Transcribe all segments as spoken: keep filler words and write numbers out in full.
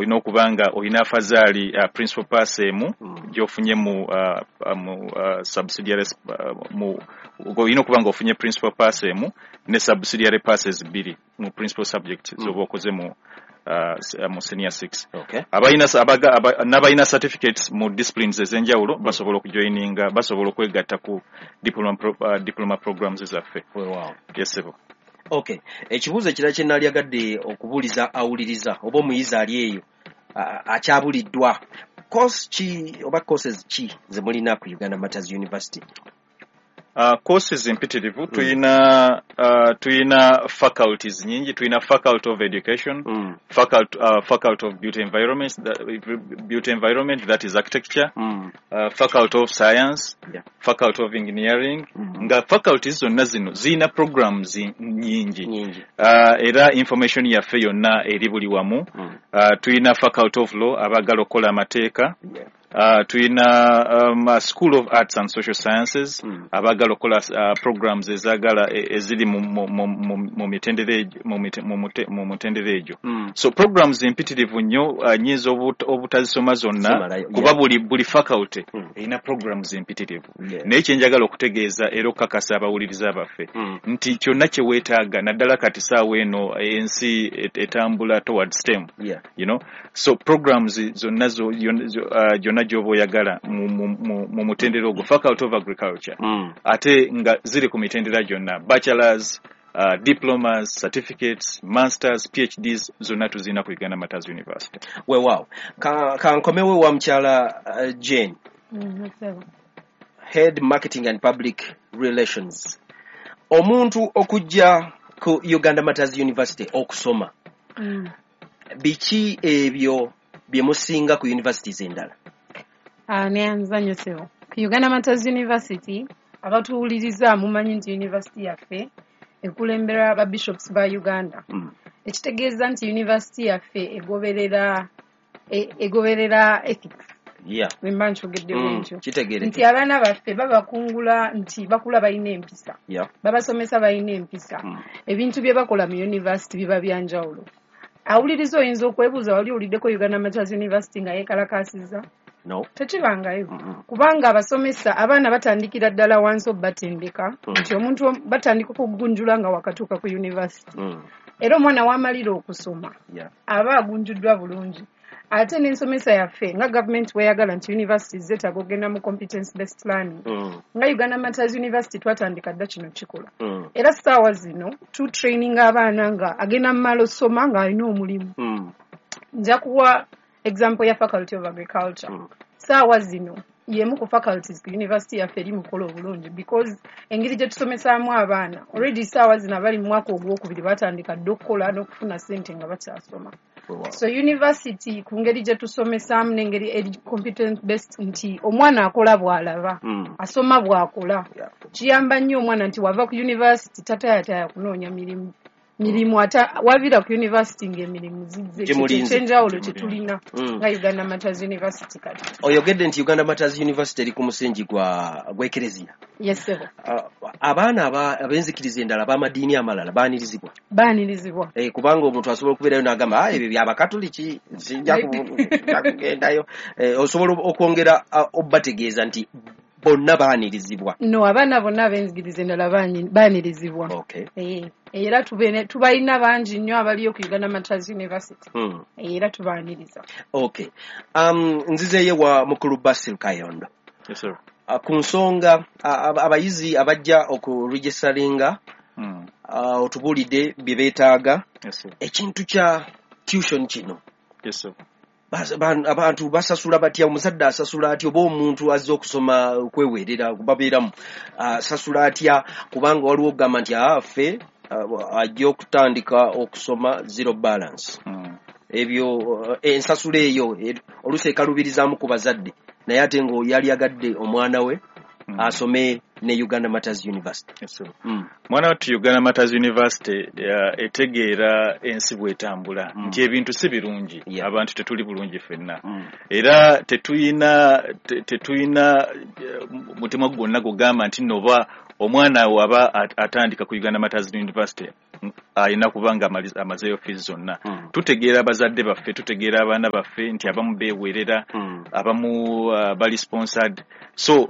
Olina okuba nga olina afazaali uh, principal pass emu Mm. gy'ofunye mu, uh, uh, mu uh, subsidiary uh, mu olina okuba nga ofunye principal pass emu ne subsidiary passes bbiri mu principal subject Mm. z'oba okoze mu uh, s- uh, mu senior six. Okay. Abalina abaga, aba, n'abalina certificates mu disciplines ez'enjawulo basobola okujoininga, basobola okwegatta ku diploma, pro, uh, diploma programs zaffe. Weewaawo. Yes, ssebo. Okay, ekibuuzo ekirala kye naalyagadde okubuuliza awuliriza oba omuyizi ali eyo a- akyabuliddwa, course ki oba courses ki ze mulina ku Uganda Martyrs University? Uh, courses mpitirivu. Tuyina uh, tuyina faculties nyingi. Tuyina faculty of education, mm. faculty, uh, faculty of built environment, that, built environment, that is architecture, Mm. uh, faculty of science, Yeah. faculty of engineering, Mm. nga faculties zonna zino ziyina programs nyingi. Nyingi. uh, era information yaffe yonna eri buli wamu. mm. uh, tuyina faculty of law, abaagala okukola amateeka. yeah. uh, tuyina um, uh, school of arts and social sciences, Mm. abaagala okukola uh, programs ezaagala e- eziri mu, mu, mu, mu, mu mitendera egyo- mu mite- mu mute- mu mutendera egyo. Mm. So programs mpitirivu nnyo, uh, nyinza obut- obutazisoma zonna, Zimalayo, kuba yeah. buli buli faculty Mm. erina programs mpitirivu. Yeah. Naye kyenjagala okutegeeza era okukakasa abawuliriza baffe Mm. nti kyonna kye weetaaga, naddala kati saawa eno ensi et- etambula towards STEM, Yeah. you know so programs zonna zo- yon- zo- uh, gyonna gy'oba oyagala mu, mu, mu, mu mutendera ogwo, faculty of agriculture, Mm. ate nga ziri ku mitendera gyonna, bachelors, uh, diplomas, certificates, masters, P H Ds, zonna tuzirina ku Uganda Martyrs University. Weewaawo. Ka- kankomewo wa mukyala uh, Jane, Mm, ssebo. head marketing and public relations. Omuntu okujja ku Uganda Martyrs University okusoma, Mm. biki ebyo bye musinga ku universities endala? Ah, neyanza nnyo, ssebo. Ku Uganda Martyrs University, abatuwuliriza mumanyi nti university yaffe ekulemberwa ba bishops ba Uganda, mm. ekitegeeza nti university yaffe egoberera e- egoberera ethics, yeah. bwe mba nkyogedde mm. bwentyo, kitegeereke nti abaana baffe babakungula nti bakula balina empisa, yeah. babasomesa balina empisa. mm. Ebintu bye bakola mu university biba byanjawulo. Awuliriza oyinza okwebuuza, wali owuliddeko Uganda Martyrs University nga yeekalakaasizza? No. Tekibangayo, mm -mm. kubanga abasomesa abaana batandikira ddala wansi obatendeka, Mm. nti omuntu om- batandika okugunjula nga wakatuuka ku university, Mm. era omwana wamalira okusoma yeah. aba agunjuddwa bulungi. Ate n'ensomesa yaffe, nga gavumenti weyagala nti universities zeetaaga okugenda mu competence based learning, mm. nga Uganda Martyrs University twatandika dda kino kikola, Mm. era ssaawa zino tutraininga abaana nga agenda mu maala osoma ng'alina omulimu. Mm. Nja kuwa example ya faculty of agriculture. Mm. Saawa zino yemu ku faculties ku university yaffe eri mukola obulungi, because engeri gye tusomesaamu abaana already, saawa zino abali mu mwaka ogwokubiri batandika dda okukola n'okufuna ssente nga bakyasoma. Weewaawo. So university, ku ngeri gye tusomesaamu n'engeri eri competence based, nti omwana akola bw'alaba, Mm. asoma bw'akola, Yeah. kiyamba nnyo omwana nti wava ku university tatayataya kunoonya mirimu mirimu ate waviira ku university ng'emirimu zizze. Gimulinze. Ekyenjawulo kye tulina Mm. nga Uganda Martyrs University kati. Oyogedde nti Uganda Martyrs University eri ku musingi gwa gw'ekereziya. Yes, ssebo. Uh, abaana aba- ab'enzikiriza endala, ab'amadiini amalala, baanirizibwa? Baanirizibwa. Eh, kubanga omuntu asobola okubeerayo n'agamba, "Ah, ebyo byabakatuliki, sijja ku- sijja kugendayo." Eh, osobola okwongera ah, obategeeza nti bonna baanirizibwa? No, abaana bonna ab'enzikiriza endala baani- baanirizibwa. Okay. Eh, era tubene- tubalina bangi nnyo abaliyo ku Uganda Martyrs University. mm. Eh, era tubaaniriza. Okay, um, nzizeeyo wa mukulu Basil Kayondo. Yes, sir. Uh, ku nsonga uh, abayizi abajja okuregistaringa, Mm. uh, otubuulidde bye beetaaga. Yes, sir. Ekintu kya tuition kino, Yes, sir. Bas- ban- abantu basasula batya? Omuzadde asasula atya, oba omuntu azze okusoma okweweerera babeeramu asasula atya? Kubanga waliwo okugamba nti affe ajja okutandika okusoma zero balance. Mm. Ebyo eh, ensasula eyo eh, oluusi ekalubirizaamu ku bazadde, naye ate nga yali agadde omwana we Mm. asome ne Uganda Martyrs University. Yes, sir. mm. Mwana wattu, Uganda Martyrs University uh, etegeera ensi bw'etambula, Mm. nti ebintu si birungi, Yeah. abantu tetuli bulungi ffenna, Mm. era tetuyina te- tetuyina eh, mutima gwonna gugamba nti nno oba omwana waba at- atandika ku Uganda Martyrs University Alina kuba nga amaliza- amazeeyo fees zonna. Mm. Tutegeera abazadde baffe, tutegeera abaana baffe nti abamu beewerera, Mm. abamu uh, bali sponsored, so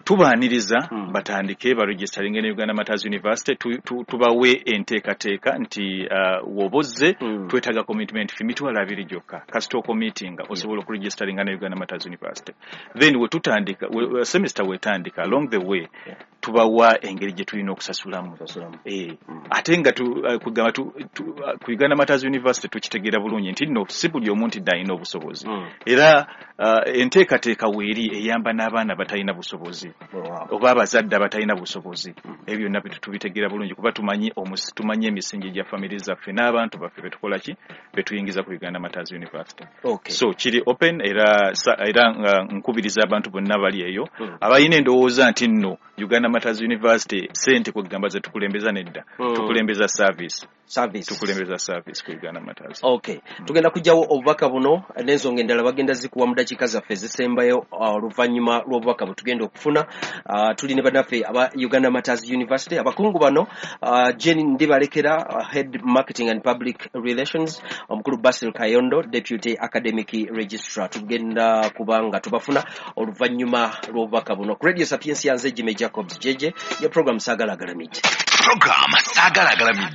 tubaaniriza Mm. batandike baregisteringe ne Uganda Martyrs University. tu, tu, tubawe enteekateeka nti uh, woba ozze, Mm. twetaaga commitment fee mitwalo abiri gyokka. Kasita ocommittinga, osobola okuregisteringa ne Uganda Martyrs University. Then wetutandika, we, semester wetandika, along the way Yeah. tubawa engeri gye tulina okusasulamu. Kusasulamu. Eh, Mm. ate nga tu, uh, kugamba tu, tu, uh, ku Uganda Martyrs University tukitegeera bulungi nti nno si buli omu nti dde alina obusobozi. Mm. Era uh, enteekateeka weeri eyamba n'abaana batalina busobozi Wow. oba abazadde abatalina busobozi. Ebyo byonna bitu tubitegeera bulungi kuba tumanyi omusi, tumanyi emisingi gya family zaffe n'abantu baffe betukola ki, betuyingiza ku Uganda Martyrs University. Okay. So kiri open, era sa- era nga nkubiriza abantu bonna bali eyo Mm. abalina endowooza nti nno Uganda Martyrs University sente kwegamba ze tukulembeza, nedda. Mm. Tukulembeza service. Service. Tukulembeza service ku Uganda Martyrs. Okay, tugenda kujjawo obubaka buno n'ensonga endala bagenda zikuwa mu dakiika zaffe ezisembayo, uh, oluvannyuma lw'obubaka bwe tugenda okufuna. uh, tuli ne bannaffe aba Uganda Martyrs University, abakungu bano, uh, Jane Ndibalekera, uh, head marketing and public relations, omukulu Basil Kayondo, deputy academic registrar. Tugenda kuba nga tubafuna oluvannyuma lw'obubaka buno ku Radio Sapientia. Nze Jimmy Jacobs Jeje, ye program Saagala Agalamidde. Program Saagala Agalamidde.